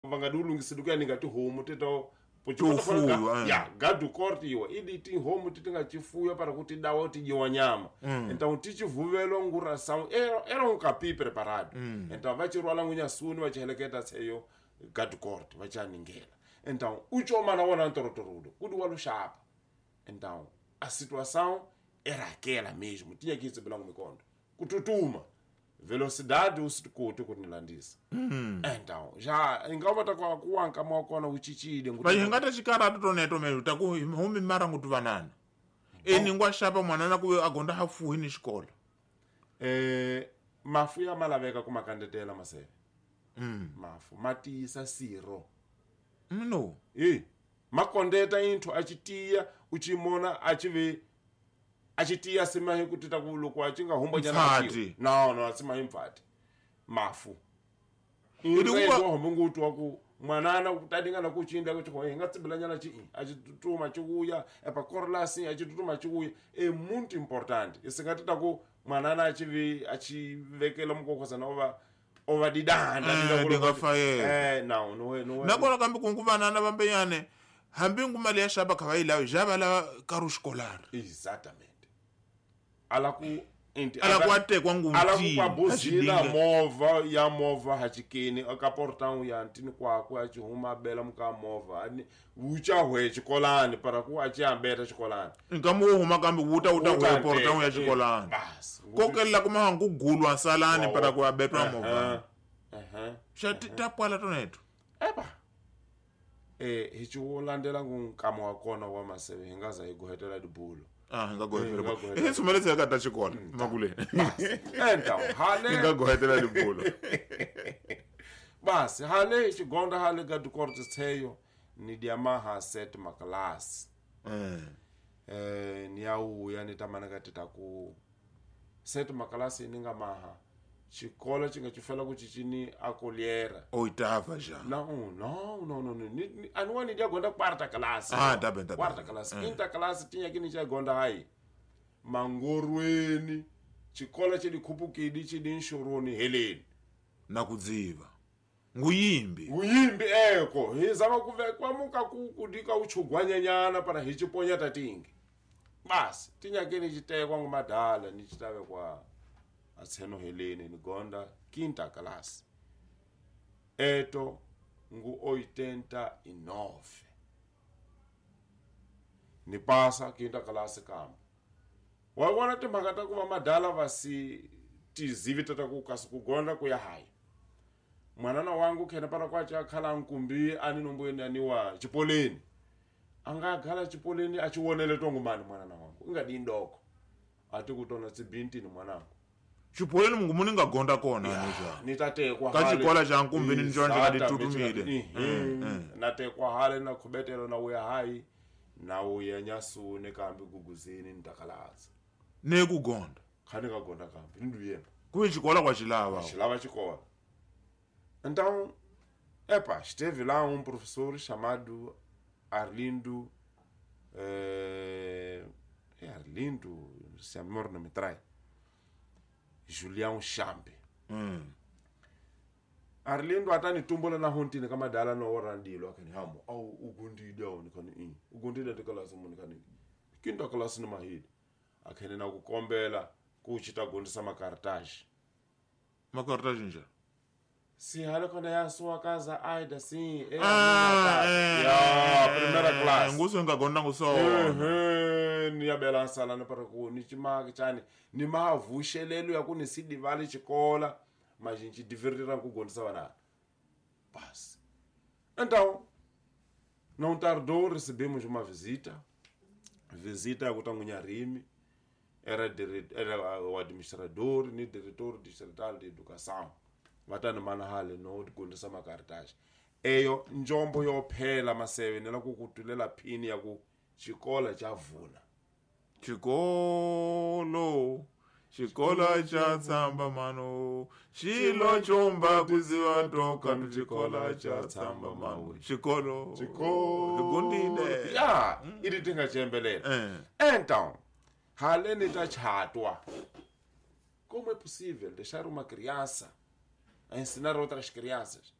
Va nga di lungiseli ku ya ni nga tihomu ti to To fuyiwa, eh. Ya gado corte iwa idi tihomu ti ti nga cifuya para ku ti dawa ti dyiwa nyama. Então ti ci vuvelwa nguração era um capi preparado. Então va ci rhwala ngunyasuni va ci heleketa tsheyo gado corte va ci aningela. Então u coma na wona ntorotorodo ku di wa luxapa. Então a situação era aquela mesmo, tinha que receber mikondo kututuma velocidade u swi koti ku ni landzisa. Então já ingava ta ku ku wa nkama wa kona wu cincile. Va hi nga ta xikaratu toneto me ta ku humi mara ngutu vanana eni ngwa xapa mwanana ku a gonda hafuhi ni xikolo. Mafu ya ma laveka ku ma kandzetela maseve. Mafu ma tiyisa sirho. No. E ma kondeta intho a ci tiya u ci mona a ci ve a ci tiya sima hi ku tita ku loko a ci nga humbanyana a ci- Mpfati. No no a sima hi mpfati mafu. Idi wa hombe ngutu wa ku mwanana ku tadinga na ku cinda ku ci hi nga tsibilanyana ci a ci tutuma ci vuya epa korlasi a ci tutuma ci vuya e muito importante i nga tita ku mwanana a ci vi a ci vekela mukokosana o va didanda. Dinga fayela. No no no. Nakona kambe kungu vanana vambenyane hambi ngu mali ya xapa kha va yi lavi ja va lava karhi xikolari. Exatamente, ala ku inti Ala ku atekwa ngu ala ku mtini, kwa buzina a xidinga. Movha ya movha hachikeni aka portão ya ntini kwakwe a ci huma a bela muka movha ani wu ca hwe xikolani para ku a ci ambeta xikolani. Nkama wo huma kambe wu ta wu ta Wu ta hwe portão ya nteka, xikolani. basi. Kokelela kuma ngu gulwa salani para ku abetwa movha. Aha. Xa ti ta pwala toneto. Epa hi ci wu landzela ngu nkama wa kona wa maseve hi nga za hi gohetela dibulo. Ah, hi nga Hi gohetela. nga gohetela. Hi sumeletse ka ta xikolo makuleni. Então hale Hi nga gohetela dibulo. Basi hale xigonda hale ga dikorte tsheyo ni dia maha set maklasi. Ni ya wuya ni tamana ka tita ku set maklasi ni nga maha xikolo xi nga ci fela ku cicini a koliera. Oitava já. No no no no no ani wa ni dia gonda quarta classe. Ah, tá bem, tá bem. Quarta classe, quinta classe tinha que ni cha gonda hayi mangorweni xikolo xi di khupukidi xi di nxuruni heleni. Na ku dziva. Nguyimbi. Nguyimbi eko hi zama ku ve kwamuka ku ku dika u chugwanyanyana para hi ciponya tatingi basi tinyakeni xitekwa ngumadala ni xitave kwa atseno heleni ni gonda quinta classe eto ngu 89 ni pasa quinta classe kambe wa vona timhaka ta ku va madala va si tizivi ta ku kasi ku gonda ku ya hayi mwanana wangu khena para kwa cha khala nkumbi ani nombweni ani wa chipoleni a nga ghala chipoleni a chi wonele tongo mani mwanana wangu u nga di ndoko a ti ku tona tsibintini mwanangu. Chipoleni mungu muni nga gonda kona ani ja. Ni ta tekwa Ka hale. xikola xa nkumbini ni xona xi nga Exatamente, titutumile. Na tekwa hale na khubetelo na wuya hayi na wuya nyasuni kambe guguzini ni takalatsa. Ne ku gonda. Kha ni nga gonda kambe ni nduyemba. Ku xikola kwa xilava. Xilava xikola. Então, epa, esteve lá um professor chamado Arlindo, é Arlindo, se a memória não me trai, Julião Chambe. Arlindo atani tumbola na hontini kama dala no orandilo akani hamo au ugundide au nikani i ugundide tikalasi muni kani kinta kalasi ni mahidi akhene na kukombela kuchita gondisa makartaji. Makartaji nje. Si hale kona ya sua casa aida sim é Ah, ya primeira classe. Nguso nga gonda nguso. Ni ya bela sala ni para ku ni chimaki chani ni mavuxelelo ya ku ni si divali xikola majinchi divertira ku gondisa vana. Basi. Então não tardou, recebemos uma visita. Visita ya kutangunya rimi. Era o administrador ni diretor distrital de educação. Vatani mana hale no gondisa makartaji. Eyo njombo yo phela maseve ni la ku kutulela phini ya ku xikola xa vuna. Xikolo, xikola xa tsamba mano, xilo chomba kuziva toka xikola xa tsamba mano. Xikolo, Xikolo. Gundile. Ya, i ti tinga xiyembelela. Então, hale ni ta chatwa. Como é possível deixar uma criança a ensinar outras crianças?